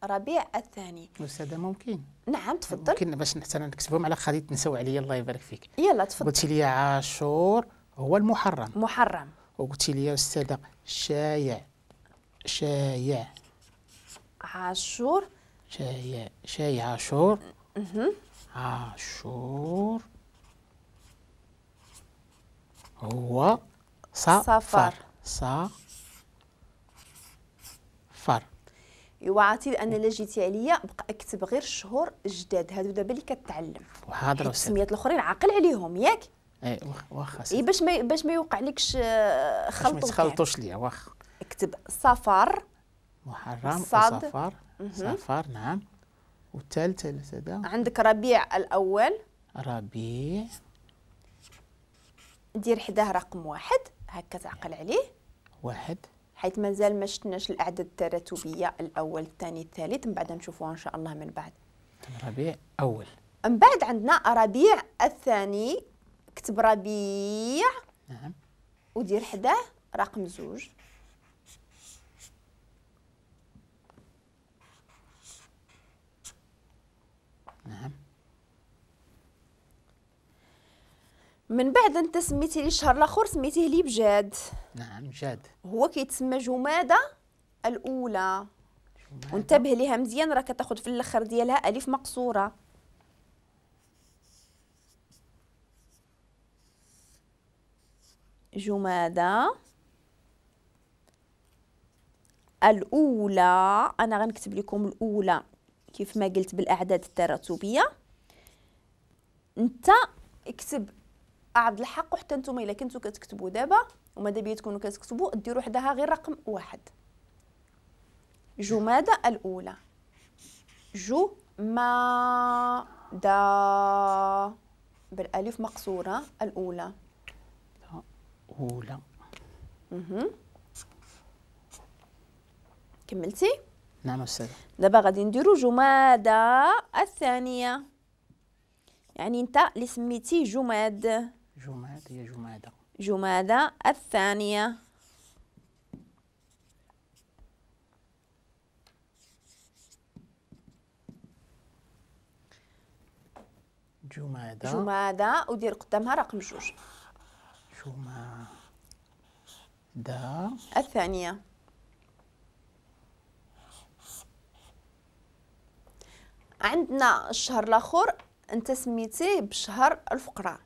ربيع الثاني. أستاذة ممكن؟ نعم تفضل. ممكن باش حتى نكتبهم على خليط تنساو عليا الله يبارك فيك. يلا تفضل. قلتي لي عاشور هو المحرم. محرم. وقلتي لي أستاذة شايع، شايع عاشور، شايع، شايع عاشور. عاشور هو صفر. صفر. ايوا عرفتي انا لا جيتي عليا بقى اكتب غير الشهور الجداد هادو دابا اللي كتعلم. وحاضر السميات الاخرين عاقل عليهم ياك؟ اي واخا. اي باش ما يوقع لكش خلط. ما تخلطوش ليا واخا. اكتب صفر محرم صفر صفر. نعم. والثالث هذا عندك ربيع الاول. ربيع دير حداه رقم 1 هكا تعقل عليه. 1 حيث مازال ما شفناش الاعداد التراتبيه، الاول الثاني الثالث، من بعد نشوفوها ان شاء الله من بعد. ربيع اول. من بعد عندنا ربيع الثاني، كتب ربيع. نعم. ودير حداه رقم 2. نعم. من بعد انت سميتي لي الشهر الاخر سميتيه لي بجاد. نعم جاد. هو كيتسمى جمادة الاولى. وانتبه ليها مزيان راه كتاخذ في الاخر ديالها الف مقصورة. جمادة الاولى، انا غنكتب لكم الاولى كيف ما قلت بالاعداد التراتبيه. انت اكتب عبد الحق، وحتى نتوما الا كنتو كتكتبوا دابا وماذا بيا تكونوا كتكتبوا ديروا حداها غير رقم 1. جمادة الاولى، جمادة بالالف مقصورة الاولى. اولى. كملتي؟ نعم أستاذة. دابا غادي نديرو جمادة الثانية، يعني انت اللي سميتي جماد. جماد هي جمادة. جمادة الثانية. جمادة. جمادة ودير قدامها رقم 2. جمادة الثانية. عندنا الشهر الاخر انت سميتيه بشهر الفقراء.